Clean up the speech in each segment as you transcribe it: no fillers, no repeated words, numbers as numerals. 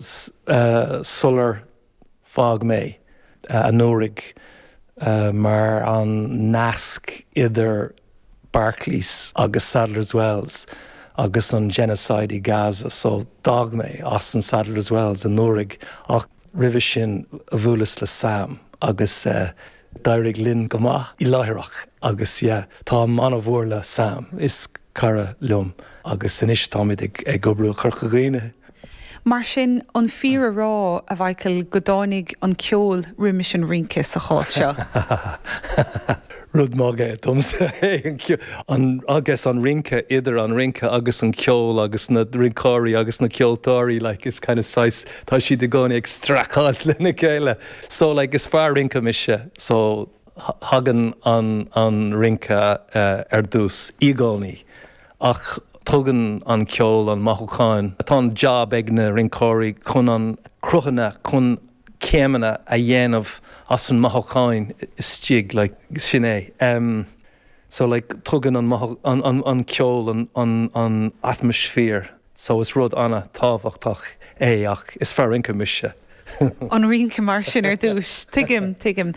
Sular fág mé anuraidh mar an nasc idir Barclays agus Sadler's Wells agus an genocide i Gaza so d'fhág mé as an Sadler's Wells anuraidh ach roimhe sin bhuaileas le Sam agus d'éirigh linn go maith láithreach agus yeah táim an-mhór le Sam, is cara liom agus anois táimid ag oibriú i Corca Dhuibhne. Mar sin, an fíor a rá, a Mhichael, go dtáinig an ceol roimis an rince sa chás seo? Rud maith é domsa é an ceol, an, agus an rince, idir an rince agus an ceol agus na rinceoirí agus na ceoltóirí, like, is kind of saghas, tá siad i gcónaí ag streachailt lena chéile. So, like, is fear rince mise, so thagann an, an rince ar dtús i gcónaí. Ach tugann an ceol an mothúcháin. Tá an job ag na rinceoirí chun an cruthanna, chun céimeanna a dhéanamh as an mothúcháin istigh, like, sin é. Em, so like tugann an an an an ceol an an an atmaisféar so is rud an-tábhachtach é ach is fear rince mise. An rince mar sin ar dtús. Tuigim, tuigim.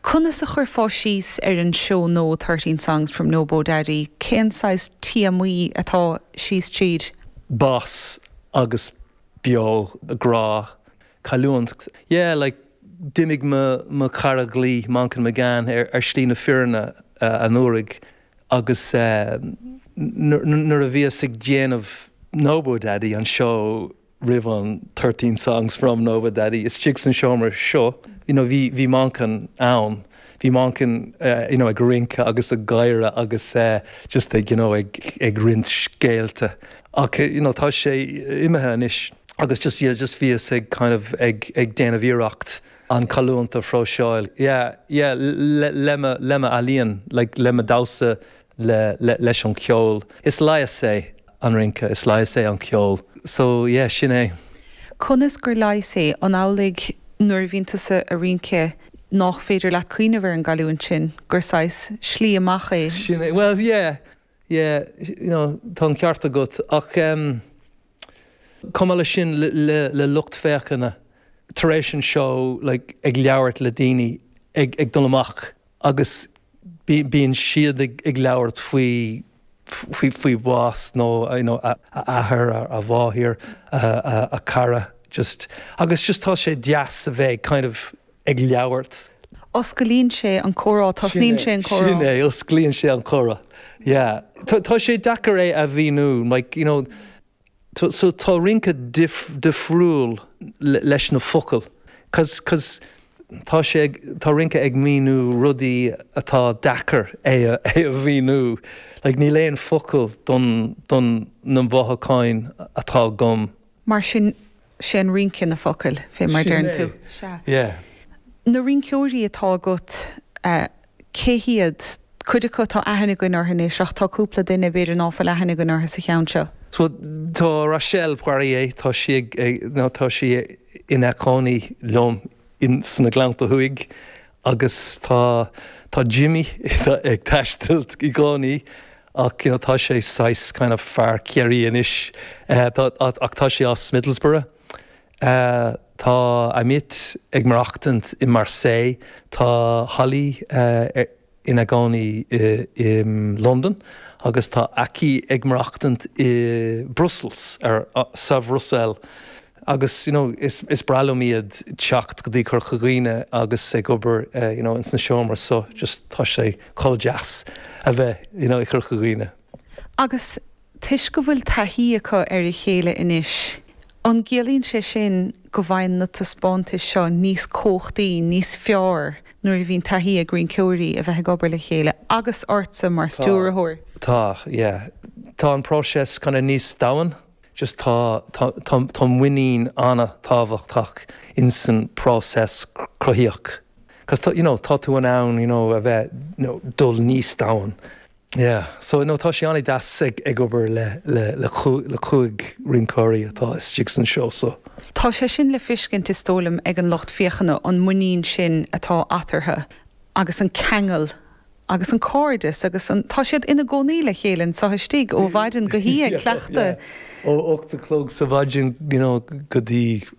Conas a chuirfeá síos ar an seó nua 13 Songs from Nobo Daddy? Cén saghas téamaí atá síos tríd? Bás agus beo, grá, cailliúint. Yeah, like, d'imigh mo, mo chara dlí, Manchán Magan, ar, ar shlí na fírinne anuraidh agus nuair a bhíos ag déanamh Nobo Daddy, an seó, roimh an 13 Songs from Nobo Daddy istigh san seomra seo, you know, bhí, bhí Manchán ann, bhí Manchán, you know, ag rince agus ag gáire agus just ag, you know, ag, ag roinnt scéalta. Ach, you know, tá sé imithe anois agus just, yeah, just bhíos ag kind of ag, ag déanamh iarracht an cailliúint a phróiseáil, yeah, yeah, le, le mo, le mo ealaíon, like, le mo damhsa, le, le, leis an cheol. Is leigheas é an rince, is leigheas é an ceol. So, yeah, sin é. Conas gur leigheas é? An amhlaidh nuair a bhíonn tusa a' rince nách féidir leat cuimhneamh ar an gcailliúint sin, gur saghas slí amach é? Sin é, well, yeah, yeah, you know, tá an ceart agat ach em chomh maith leis sin le, le, le lucht féachana tar éis an seó, like, ag labhairt le daoine ag, ag dul amach agus bíonn siad ag labhairt faoi faoi bhás nó you know a athair, a mháthair, a cara just agus just tá sé deas a bheith kind of ag labhairt. Osclaíonn sé an comhrá, tosnaíonn sé an comhrá. Sin é, osclaíonn sé an comhrá. Yeah. Tá sé deacair é a mhíniú, like you know So tá rince difriúil leis na focail cos cos tá sé ag, tá rince ag míniú rudaí atá deacair é a mhíniú. Like níl aon focal don don na mhothúcháin atá agam. Mar sin, sé an rince na focail, fé mar deireann tú. Sea. Yeah. Na rinceoirí atá agat, cé hiad? Cuid acu tá aithne againn orthu anois ach tá cúpla duine b'fhéidir ná fuil aithne againn orthu sa cheann seo. So tá Rachel Poirier, tá sí ag, nó tá sí ina cónaí liom in sna Gleannta Thuaidh agus tá, tá Jimmy ag taisteal i gcónaí ach you know tá sé saghas kind of fear Chiarraí anois ach tá sé as Middlesbrough. Tá Amit ag maireachtaint i Marseille, tá Holly ina gcónaí i Londain agus tá Aki ag maireachtaint i Brussels, sa Bhruiséil. Agus you know is is breá liom iad teacht go dtí Corca Dhuibhne agus ag obair you know ins na seomra so just tá sé chomh deas a bheith you know i Corca Dhuibhne. Agus Toisc go bhfuil taithí acu ar a chéile anois, an gciallaíonn sé sin go bhfaigheann na taispeántais seo níos cumhachtaí, níos fearr nuair a bhíonn taithí ag rinceoirí a bheith ag obair le chéile, agus ortsa mar stiúrthóir? Tá, yeah. Tá an próiseas kind of níos domhain. Just tá, tá, tá, tá muinín an-tábhachtach insan próiseas cruthaíoch. 'Cause tá, you know, tá tú in ann, you know, a bheith, you know, dul níos domhain. Yeah, so no tá sé an-deas ag ag obair le le le le chúig rinceoirí atá istigh san seó so. Tá sé sin le feiscint is dóigh liom ag an lucht féachana, an muinín sin atá eatarthu agus an ceangal. agus an cairdeas agus an, tá siad ina gcónaí le chéile anseo istigh ó mhaidin go hoíche ag cleachtadh. Ó 8 a chlog sa mhaidin you know go dtí.